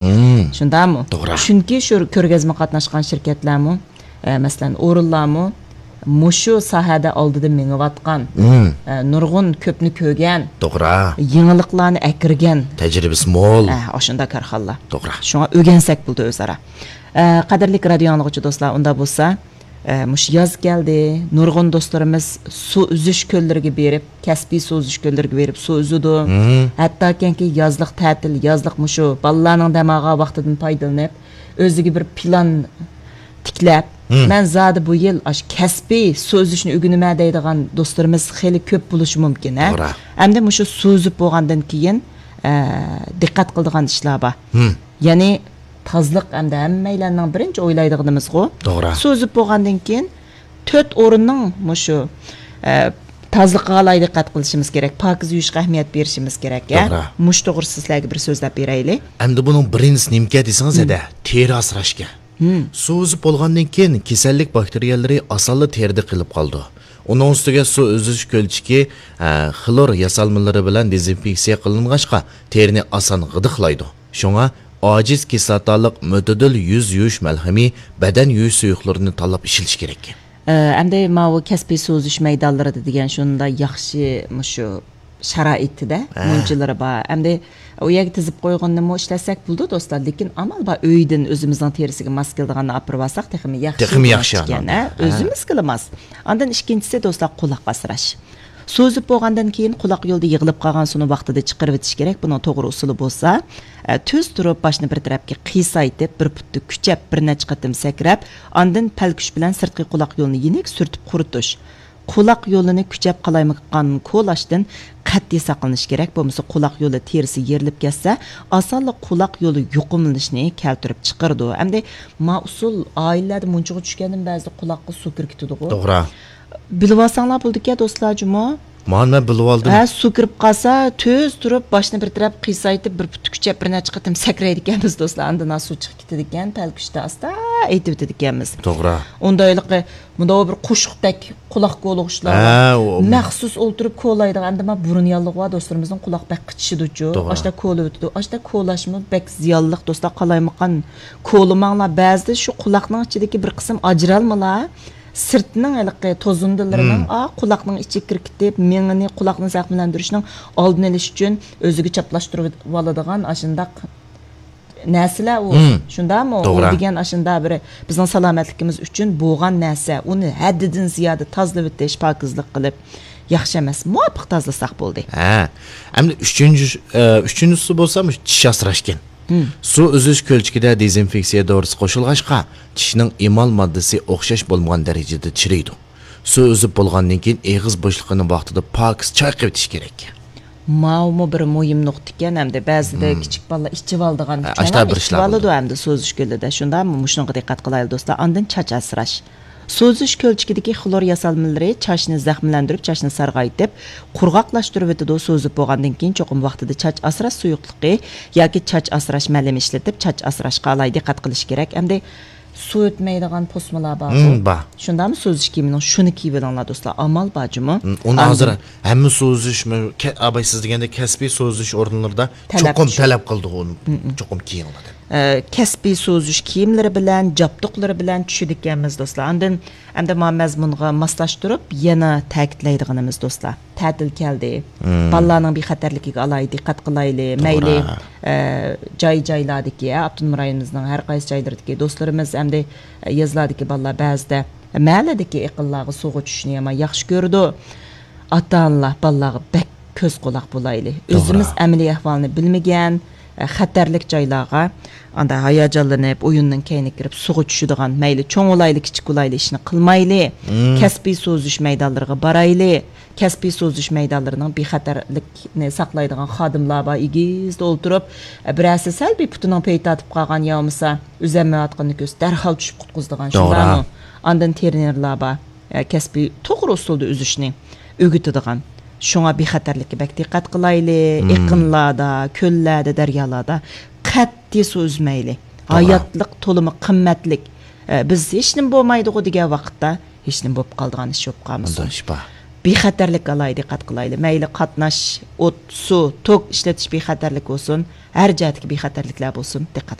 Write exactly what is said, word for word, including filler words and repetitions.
مم. شۇنداقمۇ؟ توغرا. چۈنكى شۇ كۆرگەزمە قاتناشقان شىركەتلەرمۇ، ئە، مەسىلەن، ئورۇنلارمۇ مۇشۇ ساھەدە ئالدىدا مېڭىۋاتقان، مم. ئە، نۇرغۇن كۆپنى كۆرگەن، توغرا. يېڭىلىقلارنى ئەكىرگەن، تەجرىبىسى مول. ئە، ئاشۇنداق كارخانىلار. توغرا. شۇڭا ئۆگەنسەك بولىدۇ ئۆزئارا. ئە، قەدىرلىك رادىيو ئاڭلىغۇچى دوستلار، ئۇنداق بولسا، ئە، مۇشۇ ياز كەلدى، نۇرغۇن دوستلىرىمىز سۇ ئۈزۈش كۆللىرىگە بېرىپ، كەسپىي سۇ ئۈزۈش كۆللىرىگە بېرىپ سۇ ئۈزىدۇ. مم. ھەتتاكىنكى يازلىق تەتىل، يازلىق مۇشۇ بالىلارنىڭ دەم ئالغان ۋاقتىدىن پايدىلىنىپ، ئۆزىگە بىر پىلان تىكلەپ، مم. مەن زادى بۇ يىل ئاشۇ كەسپىي سۇ ئۈزۈشنى ئۆگىنىمەن دەيدىغان دوستلىرىمىز خېلى كۆپ بولۇشى مۇمكىن، ھە؟ توغرا. ئەمدى مۇشۇ سۇ ئۈزۈپ بولغاندىن كېيىن، ئە، دىققەت قىلىدىغان ئىشلار بار. مم. يەنى تازىلىق ئەمدى ھەممەيلەننىڭ بىرىنچى ئويلايدىغىنىمىزغۇ. توغرا. سۇ ئۈزۈپ بولغاندىن كېيىن تۆت ئورۇننىڭ مۇشۇ، ئە، تازىلىقىغا ئالاھىدە دىققەت قىلىشىمىز كېرەك، پاكىز يۇيۇشقا ئەھمىيەت بېرىشىمىز كېرەك، يا؟ توغرا. مۇشۇ توغرىسىدا سىلەرگە بىر سۆزلەپ بېرەيلى. ئەمدى بۇنىڭ بىرىنچىسى نېمىكەن دېسىڭىز، مم. ھەدە، تېرە ئاسراشكەن. مم. سۇ ئۈزۈپ بولغاندىن كېيىن كېسەللىك باكتېرىيەلىرى ئاسانلا تېرىدە قېلىپ قالىدۇ. ئۇنىڭ ئۈستىگە سۇ ئۈزۈش كۆلچىكى، ئە، خلور ياسالمىلىرى بىلەن دېزىنفېكسىيە قىلىنغاچقا، تېرىنى ئاسان غىدىقلايدۇ. شۇڭا ئاجىز كىسلاتالىق مۆتىدىل يۈز يۇيۇش مەلھىمى، بەدەن يۇيۇش سۇيۇقلىرىنى تاللاپ ئىشلىتىش كېرەك. ئە، ئەمدى ماۋۇ كەسپىي سۇ ئۈزۈش مەيدانلىرىدا دېگەن شۇنداق ياخشى مۇشۇ شارائىتىدە ھە. مۇنچىلىرى بار. ئەمدى ئۇ يەرگە تىزىپ قويغىنىمۇ ئىشلەتسەك بولىدۇ دوستلار، لېكىن ئامال بار ئۆيدىن ئۆزىمىزنىڭ تېرىسىگە ماس كېلىدىغاننى ئاپىرىۋالساق تېخىمۇ ياخشى تېخىمۇ ياخشى ئىكەن، ئانىڭدا. ھە؟ ھە. ئۆزىمىزگىلا ماس. ئاندىن ئىككىنچىسى دوستلار، قۇلاق ئاسراش. سۇ ئۈزۈپ بولغاندىن كېيىن قۇلاق يولىدا يىغىلىپ قالغان سۇنى ۋاقتىدا چىقىرىۋېتىش كېرەك. بۇنىڭ توغرا ئۇسۇلى بولسا، ئە، تۈز تۇرۇپ، باشنى بىر تەرەپكە قىيسايتىپ، بىر پۇتتا كۈچەپ، بىر نەچچە قېتىم سەكرەپ، ئاندىن پەلكۈش بىلەن سىرتقى قۇلاق يولىنى يېنىك سۈرتۈپ قۇرۇتۇش. قۇلاق يولىنى كۈچەپ قالايمىقان كولاشتىن قەتئىي ساقلىنىش كېرەك، بولمىسا قۇلاق يولى تېرىسى يېرىلىپ كەتسە، ئاسانلا قۇلاق يولى يۇقۇملىنىشنى كەلتۈرۈپ چىقىرىدۇ. ئەمدى ما ئۇسۇل ئائىلىلەردە مۇنچىغا چۈشكەندىن بەزىدە قۇلاققا سۇ كىرىپ كېتىدىغۇ. توغرا. بىلىۋالساڭلار بولىدىكەن دوستلار جۇمۇ. مانا مەن بىلىۋالدىم. ھە، سۇ كىرىپ قالسا، تۈز تۇرۇپ، باشنى بىر تەرەپ قىيسايتىپ، بىر پۇتى كۈچەپ، بىر نەچچە قېتىم سەكرەيدىكەنمىز دوستلار. ئاندىن سۇ چىقىپ كېتىدىكەن، پەلكۈشتە ئاستا ئېيتىۋېتىدىكەنمىز. توغرا. ئۇندا ھېلىقى مۇنداق بىر قوشۇقتەك قۇلاق كولىغۇچلار ھە، بار. ئۇ مەخسۇس ئولتۇرۇپ كولايدىغان، ئەمدى ما بۇرۇن ياللۇغۇ بار دوستلىرىمىزنىڭ قۇلاق بەك قىچىشىدۇچۇ. توغرا. ئاشتا كولىۋېتىدۇ. ئاشتا كولاشمۇ بەك زىيانلىق دوستلار، قالايمىقان كولىماڭلار. بەزىدە شۇ قۇلاقنىڭ ئىچىدىكى بىر قىسىم ئاجرالمىلار سىرتنىڭ ھېلىقى توزۇندىلىرىنىڭ، مم. ئا، قۇلاقنىڭ ئىچىگە كىرىپ كېتىپ، مېڭىنى، قۇلاقنى زەخىملەندۈرۈشنىڭ ئالدىنى ئېلىش ئۈچۈن ئۆزىگە چاپلاشتۇرۇۋالىدىغان ئاشۇنداق نەرسىلەر ئۇ. مم. شۇنداقمۇ؟ ئۇ توغرا. دېگەن ئاشۇنداق بىر بىزنىڭ سالامەتلىكىمىز ئۈچۈن بولغان نەرسە. ئۇنى ھەددىدىن زىيادە تازىلىۋېتىش، پاكىزلىق قىلىپ ياخشى ئەمەس. مۇۋاپىق تازىلىساق بولدى. ھە. ئەمدى ئۈچىنچى، ئە، ئۈچىنچىسى بولسا مۇشۇ چىش ئاسراشكەن. مم. سۇ ئۈزۈش كۆلچىكىدە دېزىنفېكسىيە دورىسى قوشۇلغاچقا، چىشنىڭ ئېمال ماددىسى ئوخشاش بولمىغان دەرىجىدە چىرىيدۇ. سۇ ئۈزۈپ بولغاندىن كېيىن ئېغىز بوشلۇقىنى ۋاقتىدا پاكىز چايقىۋېتىش كېرەك. ماۋۇمۇ بىر مۇھىم نۇقتا ئىكەن، ئەمدى بەزىدە مم. كىچىك بالىلار ئىچىۋالىدىغان، ھە، چوڭلار ئاشۇنداق بىر ئىشلار ئىچىۋالىدۇ بولىدۇ. ئەمدى سۇ ئۈزۈش كۆلىدە. شۇنداقمۇ؟ مۇشۇنىڭغا دىققەت قىلايلى دوستلار. ئاندىن چاچ ئاسراش. سۇ ئۈزۈش كۆلچىكىدىكى خلور ياسالمىلىرى چاچنى زەخىملەندۈرۈپ، چاچنى سارغايتىپ، قۇرغاقلاشتۇرۇۋېتىدۇ. سۇ ئۈزۈپ بولغاندىن كېيىن چوقۇم ۋاقتىدا چاچ ئاسراش سۇيۇقلۇقى ياكى چاچ ئاسراش مەلىمى ئىشلىتىپ، چاچ ئاسراشقا ئالاھىدە دىققەت قىلىش كېرەك. ئەمدى سۇ ئۆتمەيدىغان پوسمىلار بارغۇ. مم، بار. شۇنداقمۇ سۇ ئۈزۈش كىيىمىنىڭ شۇنى كىيىۋېلىڭلار دوستلار. ئامال بار جۇمۇ. مم، ئۇنى ئاندىن ھازىر ھەممە سۇ ئۈزۈش، مە-، كە-، ئاباي سىز دېگەندەك كەسپىي سۇ ئۈزۈش ئورۇنلىرىدا تەلەپ چوقۇم چۈ- تەلەپ قىلىدىغۇ، ئۇنى مم، مم. چوقۇم كىيىڭلار دەپ. ئە، كەسپىي سۇ ئۈزۈش كىيىملىرى بىلەن، جابدۇقلىرى بىلەن چۈشىدىكەنمىز دوستلار. ئاندىن ئەمدى ما مەزمۇنغا ماسلاشتۇرۇپ يەنە تەكىتلەيدىغىنىمىز دوستلار، تەتىل كەلدى. مم. بالىلارنىڭ بىخەتەرلىكىگە ئالاھىدە دىققەت قىلايلى. توغرا. مەيلى، ئە، جاي-جايلاردىكى، ئاپتونوم رايونىمىزنىڭ ھەر قايسى جايلىرىدىكى دوستلىرىمىز ئەمدى، ئە، يېزىلاردىكى بالىلار بەزىدە مەھەللىدىكى ئېقىنلارغا سۇغا چۈشۈشنى يامان ياخشى كۆرىدۇ. ئاتا-ئانىلار بالىلارغا بەك كۆز-قۇلاق بولايلى. توغرا. ئۆزىمىز ئەمەلىي ئەھۋالنى بىلمىگەن، ئە، خەتەرلىك جايلارغا ئاندا ھاياجانلىنىپ، ئويۇننىڭ كەينىگە كىرىپ، سۇغا چۈشىدىغان، مەيلى چوڭ بولايلى، كىچىك بولايلى، ئىشنى قىلمايلى. مم. كەسپىي سۇ ئۈزۈش مەيدانلىرىغا بارايلى. كەسپىي سۇ ئۈزۈش مەيدانلىرىنىڭ بىخەتەرلىكنى ساقلايدىغان خادىملار بار، ئېگىزدە ئولتۇرۇپ، بىرەرسى سەل بىر پۇتىنىڭ پېيى تارتىپ قالغان يا بولمىسا ئۈزەلمەيۋاتقىنىنى كۆرسە، دەرھال چۈشۈپ قۇتقۇزىدىغان، توغرا. شۇنداقمۇ؟ ئاندىن ترېنېرلار بار، ئە، كەسپىي توغرا ئۇسۇلدا ئۈزۈشنى ئۆگىتىدىغان. شۇڭا بىخەتەرلىككە بەك دىققەت قىلايلى. مم. ئېقىنلاردا، كۆللەردە، دەريالاردا قەتئىي سۇ ئۈزمەيلى. توغرا. ھاياتلىق تولىمۇ قىممەتلىك. ئە، بىز ھېچنېمە بولمايدىغۇ دېگەن ۋاقىتتا ھېچنېمە بولۇپ قالىدىغان ئىش بولۇپ قالمىسۇن. مۇنداق ئىش بار. بىخەتەرلىك ئالاھىدە دىققەت قىلايلى. مەيلى قاتناش، ئوت، سۇ، توك ئىشلىتىش بىخەتەرلىك بولسۇن، ھەر جەھەتتىكى بىخەتەرلىكلەر بولسۇن، دىققەت